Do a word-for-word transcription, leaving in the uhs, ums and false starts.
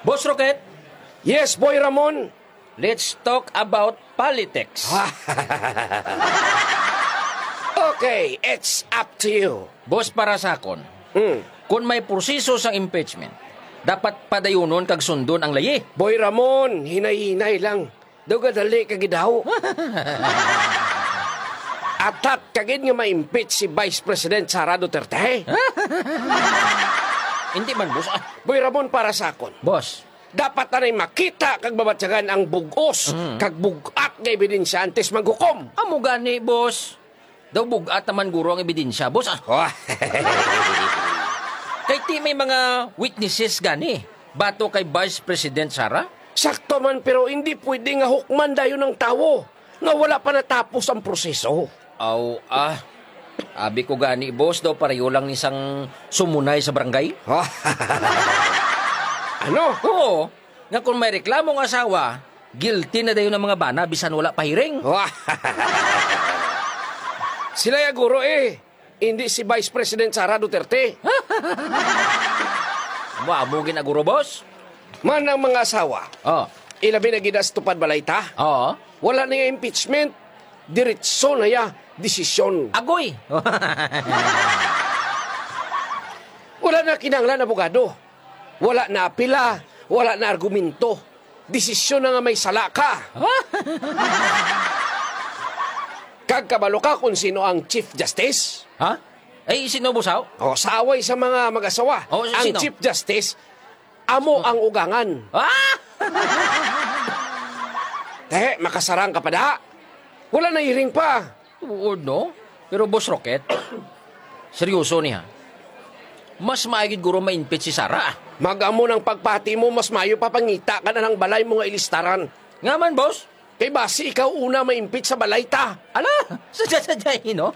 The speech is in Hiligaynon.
Boss Rocket, Yes, Boy Ramon. Let's talk about politics. Okay, it's up to you. Boss, para sa akon, Mm. kung may proseso sang impeachment, dapat padayunon kag sundon ang layi. Boy Ramon, hinay-hinay lang. Daw gadali ka gidaw. Atat ka gid nga ma-impeach si Vice President Sara Duterte. Hindi man, boss. Ah, Boy Ramon, para sa akon, boss, dapat anay makita kag mabatyagan ang bug-os Mm. kag bug-at nga ebidensya antes maghukom. Amo gani, boss. Daw bug-at naman guro ang ebidensya, boss. Ah, Oh. Kay ti may mga witnesses gani bato kay Vice President Sara. Sakto man, pero hindi pwede nga hukman dayon ang tawo nga wala pa natapos ang proseso. Aw, ah. Abi ko gani, boss, daw pareho lang ni sang sumunay sa barangay. Ano? Oo, nga kung may reklamo ang asawa, guilty na dayon ang mga bana bisan wala pa hearing. Sila ya guro eh, hindi si Vice President Sara Duterte. Amo-amo gid na guro, boss. Man ang mga asawa, Oh. ilabi na gid sa tupad balay ta. Oo. Wala na yung impeachment, diretso na ya desisyon. Agoy! Wala na kinahanglan abogado. Wala na apila, wala na argumento. Desisyon na nga may sala ka. Kag kabalo ka kung sino ang Chief Justice? Ha? Ay, sino, boss, haw? O, sa away sa mga mag-asawa, Oh, ang sino? Chief Justice, amo ang ugangan. Ah! Te, makasarang ka pa da. Wala na hearing pa. Oo, no? Pero, Boss Rocket, seryoso ni, ha? Mas maayo gid guro ma-impeach si Sara, ah. Mag-amo ng pagpati mo, mas maayo pa pangita ka na ng balay mo nga ilistaran. Nga man, boss? Kay basi ikaw una ma-impeach sa balay ta. Ala, sadya-sadya, eh, no?